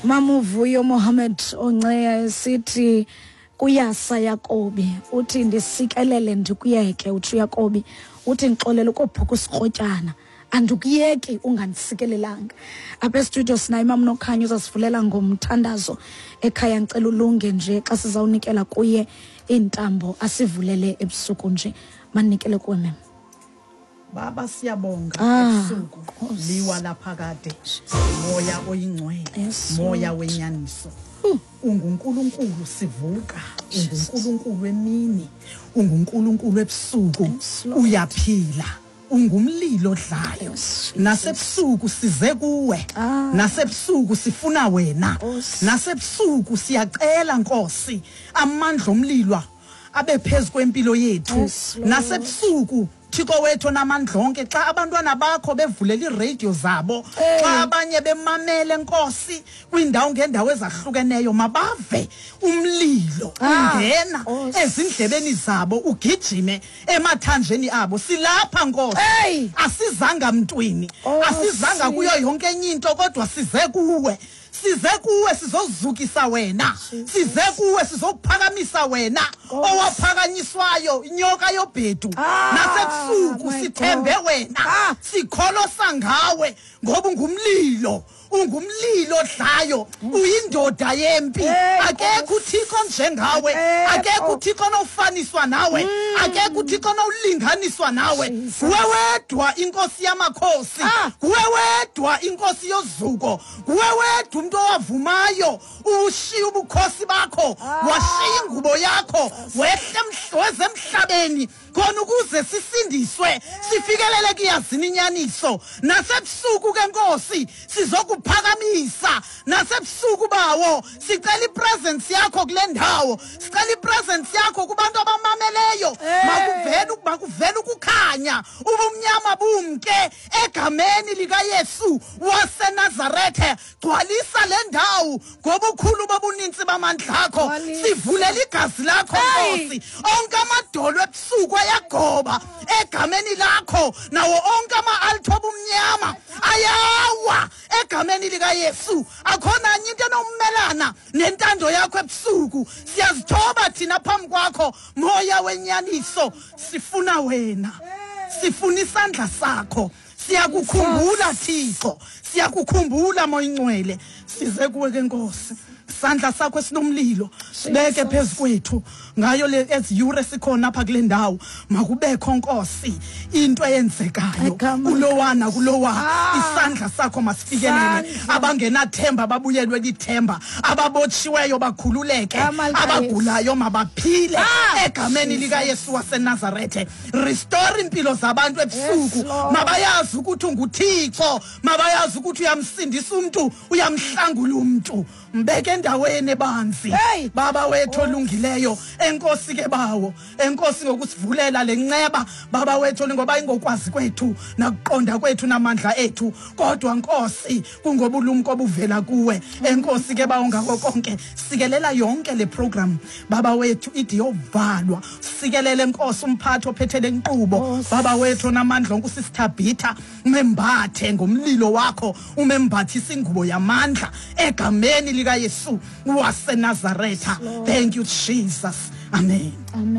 Mamuvuyo Mohammed Onceya esithi kuyasa Yakobi, uthi ndisikelele ndikuyeke. Uthi uYakobi, uthi ndixolele ukophuka usikrotyana, andikuyeki ungandisikelelanga. Apha estudio sinayo imam Nokhanyo, uzasivulela ngomthandazo ekhaya. Ndicela ulunge nje xa sizawunikela kuye iintambo, asivulele ebusuku nje. Manikele kuwe, mem. Baba, siyabonga. Ebusuku liwa laphakade, moya oyingcwele, moya wenyaniso, unguNkulunkulu. Sivuka, unguNkulunkulu emini, unguNkulunkulu ebusuku. Uyaphila, ungumlilo odlayo. Nasebusuku size kuwe. Nasebusuku sifuna wena. Nasebusuku siyacela, Nkosi, amandla omlilo abe phezu kwempilo yethu. Nasebusuku, Thixo wethu onamandla onke, xa abantwana bakho bevulela iiradio zabo, xa abanye bemamele, Nkosi, kwiindawo ngeendawo ezahlukeneyo, mabave umlilo ungena ezindlebeni zabo, ugijime emathanjeni abo. Silapha, Nkosi. Asizanga mntwini, asizanga kuyo yonke enye into, kodwa size kuwe. Size kuwe sizozukisa wena, size kuwe sizokuphakamisa wena, owaphakanyiswayo, inyoka yobhedu. Nasebusuku my sithembe God. wena. Sikholosa ngawe ngoba ungumlilo, ungumlilo odlayo, uyindoda yempi. Akekho uThixo njengawe. Akekho. Akekho uThixo onofaniswa nawe. Akekho uThixo onowulinganiswa nawe. Jesus. Nguwe wedwa inkosi yamakhosi. Nguwe wedwa inkosi yozuko. Nguwe wedwa umntu owavumayo ushiya ubukhosi bakho, washiya ingubo yakho, wehle weze emhlabeni khona ukuze sisindiswe, sifikelele kuyazini inyaniso. Nasebusuku ke, Nkosi, sizokuphakamisa. Nasebusuku, bawo, sicela ipresence yakho kule ndawo, sicela ipresence yakho kubantu abamameleyo. Makuvele ukukhanya, ubumnyama bumke egameni likaYesu waseNazarethe. Gcwalisa le ndawo ngobukhulu bobuninzi bamandla akho. Gcwalisa. Sivulela igazi lakho. Nkosi, onke amadolo ebusuku ayagoba egameni lakho, nawo onke ama-altar obumnyama ayawa egameni likaYesu. Akho nanye into enomelana nentando yakho ebusuku. Siyazithoba thina phambi kwakho, moya wenyaniso. Sifuna wena, sifuna isandla sakho. Siyakukhumbula, Thixo, siyakukhumbula, moya ingcwele. Size kuwe ke, Nkosi. Isandla sakho esinomlilo sibeke phezu kwethu ngayo le ezi yure sikhona apha kule ndawo. Makubekho, Nkosi, into eyenzekayo Egama kulowana kulowa. Isandla sakho masifikelele. Isandla. Abangenathemba babuyelwe lithemba, ababotshiweyo bakhululeke, Igama likaYesu. abagulayo mabaphile egameni Jesus. likaYesu waseNazarethe. Restore impilo zabantu ebusuku. Yes, Lord. Mabayazi ukuthi unguThixo, mabayazi ukuthi uyamsindisa umntu, uyamhlangula umntu, mbeke endaweni ebanzi. Baba wethu olungileyo, enkosi ke, bawo, enkosi ngokusivulela le nceba, baba wethu, ngoba ingokwazi kwethu nakuqonda kwethu namandla ethu, kodwa, Nkosi, kungobulumko obuvela kuwe. Enkosi ke, bawo, ngako konke. Sikelela yonke le program, baba wethu, ide yovalwa. Sikelele, Nkosi, umphathi ophethe le nkqubo. Nkosi. Baba wethu onamandla onke, usisithabhitha, umembathe ngomlilo wakho, umembathise ingubo yamandla egameni likaYesu waseNazaretha. Thank you, Jesus. Amen. Amen.